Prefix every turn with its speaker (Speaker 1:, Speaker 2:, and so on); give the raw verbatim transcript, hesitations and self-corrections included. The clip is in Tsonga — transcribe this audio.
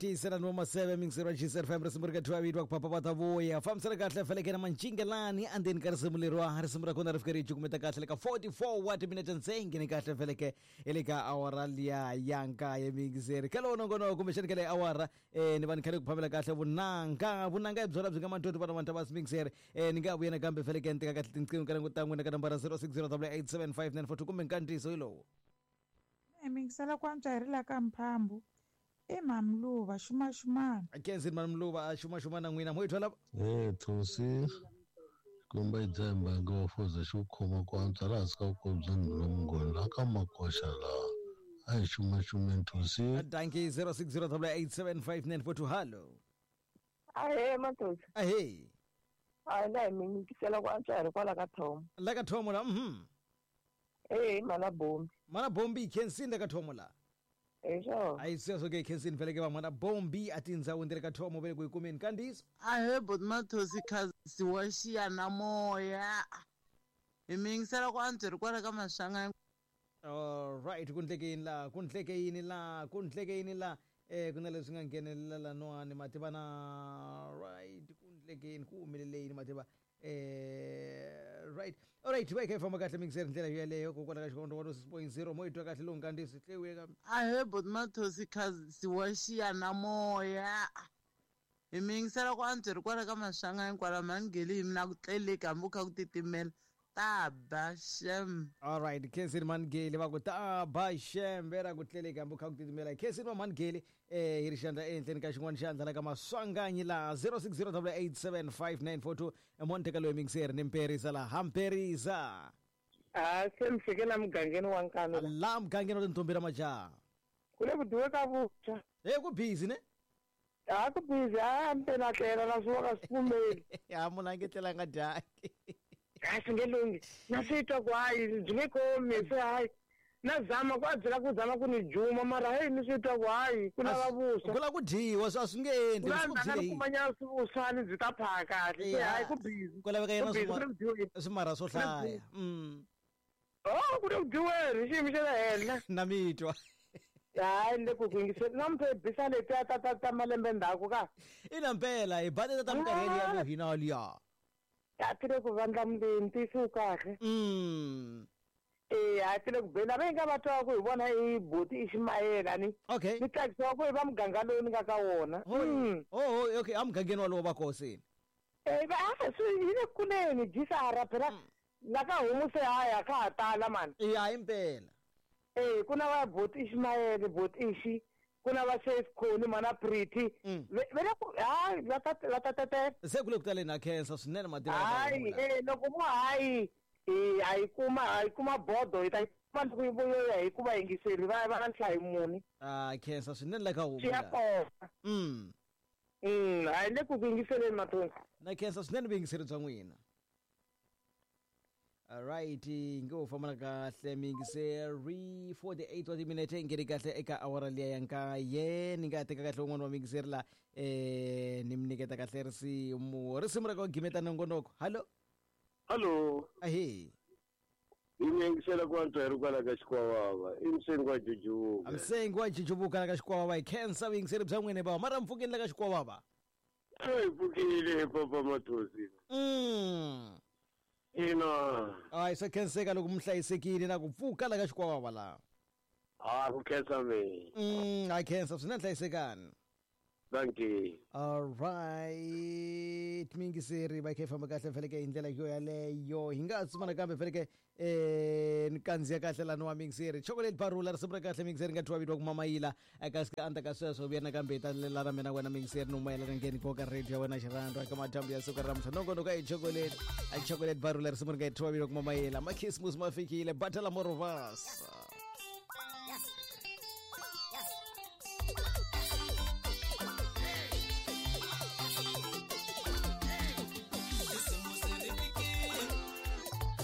Speaker 1: Tiyiselani wa maseve mingiseri wa G C F M risimu ri ka thwa vitwa ku papa va ta vuya fambisana kahle feleke na mancingelani andzeni ka risimu leriwa risimu ra kona ri fika ri cukumeta kahle le ka forty-four wa timinete ntsengeni ni kahle feleke hi le ka awara liya ya nkaye mingiseri ka lowu nongonoko kumbexani ka leyi awara um ni va ni khale ku phamela kahle vunanga vunanga hi byona byi nga mantoti vana vanhu va mingiseri um ni nga vuya nakambe feleke ni teka kahle tinqingho ka languta n'wina ka nambara zero six zero double eight seven five nine four two kumbe nkandziyiso hi lowu.
Speaker 2: Mingisela ku antswa hi ri la ka Mphambu i Mamluva xumaxumana.
Speaker 1: Kenzini Mamluva a xumaxumana n'wina mo yi twala.
Speaker 3: Eh Thosi kumbe dzemba ngo fuza xi khoma ku antswa laha hansi ka vukosi bya Nhula Mungoni laha ka Makoxa laha a hi xumaxumeni Thosi.
Speaker 1: Dankie zero six zero double eight seven five nine four two hallo.
Speaker 4: Ahee Mathosi.
Speaker 1: Ahee.
Speaker 4: A la hi mingisela ku antswa hi ri kwala ka Thomo.
Speaker 1: La ka Thomo la mhm.
Speaker 4: Eh mana bombi.
Speaker 1: Mana bombi Kenzini la ka Thomo la.
Speaker 4: Esho.
Speaker 1: Ayi sweswo ke Kenzini vele ke va mana bombi a tindhawu ndzi ri ka Thomo vele ku yi kumeni kandiso.
Speaker 5: Ahee bot Mathosi khazi wa xiya na moya. Hi mingisela ku antswa hi ri kwala ka Maswanganyi.
Speaker 1: All right ku ndleke yini la ku ndleke yini la ku ndleke yini la eh ku na leswi nga nghenelela lanwani mativa na right ku ndleke yini ku humelele yini mativa eh right all right va kha famba kahle mingiseri ndlela yeleyo kokwala ka xikondo wa six point zero mo yi twa kahle lowu nkandziyiso tlewiye ka.
Speaker 5: Ahee bot Mathosi khazi wa xiya na moya. Hi mingisela ku antswa hi ri kwala ka Maswanganyi kwala Mhangeli hi mina ku tleleki hambi ku kha ku titimela. Ta ba shem.
Speaker 1: All right Kenzini Mhangeli va ku ta ba shem vera ku tleleki hambi ku kha ku titimela. Kenzini wa Mhangeli eh hi ri xandla ehenhleni ka xin'wana xandla la ka Maswanganyi la zero six zero double eight seven five nine four two emonteka loyi mingiseri ni mperisa la hamperisa.
Speaker 4: A se mi fike la mugangeni wa Nkanu la.
Speaker 1: La mugangeni wa tintombi ra majaha.
Speaker 4: Ku le ku dyiwe ka vuswa.
Speaker 1: Eh ku busy ne?
Speaker 4: A ku busy a mpela tlela na swi ka swi pfumeli.
Speaker 1: Ya munhu a nge tlelanga dyangi.
Speaker 4: A swi nge lunghi na swi twa ku hayi byi nge komi se hayi na zama ku a byela ku zama ku ni juma mara heyi ni swi twa ku hayi ku lava vuswa
Speaker 1: ku lava ku dyiwa swi a swi nge endli
Speaker 4: ku la ni kumanyana swivuswani byi ta phaha kahle se hayi ku busy
Speaker 1: ku laveka yena swimara swo hlaya. Mm
Speaker 4: oh ku le ku dyiweni xiyimo xa le henhla
Speaker 1: na mi twa.
Speaker 4: Hayi ni le ku ku yingiseni namuntlha hi bisa letiya ta ta ta malembe ndzhaku ka
Speaker 1: ina mpela hi ba teta ta minkarhi ya ku hina liya.
Speaker 4: A ti le ku vandlamuleni ntiyiso wu kahle.
Speaker 1: Mm.
Speaker 4: Eh a ti le ku beni lava yi nga va twa ku hi vona i boti i ximayela ni.
Speaker 1: Okay.
Speaker 4: Ni tsakisiwa ku hi va muganga lowu ni nga ka wona.
Speaker 1: Mm. Oh okay a mugangeni walowo va kosini.
Speaker 4: Eh va swi hi le kuleni jisara phela la ka homu se haya ka ha tala mani.
Speaker 1: Eh hayi mpela.
Speaker 4: Eh ku na va boti Ismaele boti Ishi ku na va Safe Khoni mana Pretty ve le ku hayi va ta va ta tetela
Speaker 1: se ku le ku taleni na khensa swinene mativa.
Speaker 4: Hayi eh loko mo hayi eh a yi kuma a yi kuma bodo hi ta kuma loko yi vuya hi ku va yingiseri va va na nhlayo muni.
Speaker 1: Ah khensa swinene la ka homu.
Speaker 4: Swi ya kona.
Speaker 1: Mm.
Speaker 4: Mm hayi le ku ku yingiseleni Mathonsi.
Speaker 1: Na khensa swinene vuyingiseri bya n'wina. All right nge u famba kahle mingiseri forty-eight wa timinete nge ri kahle eka awara liya ya nkaye ni nga teka kahle un'wana wa mingiseri la eh ni mi nyiketa kahle risimu risimu ra ku gimeta nongonoko. Hallo.
Speaker 6: Hallo.
Speaker 1: Ahee.
Speaker 6: I mingisela ku antswa hi ri kwala ka Xikwavava i msengi wa Jujuvuka.
Speaker 1: Msengi wa Jujuvuka la ka Xikwavava hi khensa vuyingiseri bya n'wina bava mara mpfukeni la ka Xikwavava.
Speaker 6: Hi pfukile papa Mathosi.
Speaker 1: Mm.
Speaker 6: Ina.
Speaker 1: Hayi se khenseka loko mi hlayisekile na ku pfuka la ka Xikwavava la.
Speaker 6: Ah ku khensa mina.
Speaker 1: Mm a khensa swinene hlayisekani.
Speaker 6: Thank you.
Speaker 1: All right mingiseri va kha famba kahle feleke hi ndlela yo yaleyo hi nga tsumana kambe feleke eh ni kandziya kahle lani wa mingiseri chocolate barula risimu ra kahle mingiseri nga thiwa vitiwa ku mamayila kasi ka andzaka sweswo vuya nakambe hi ta lela na mina wena mingiseri no mayelana ngheni koka radio ya wena xirhandwa ka madyambu ya siku ra namuntlha nongonoko a hi chocolate a chocolate barula risimu ri nga thiwa vitiwa ku mamayila makhisimusi ma fikile batala morovasa.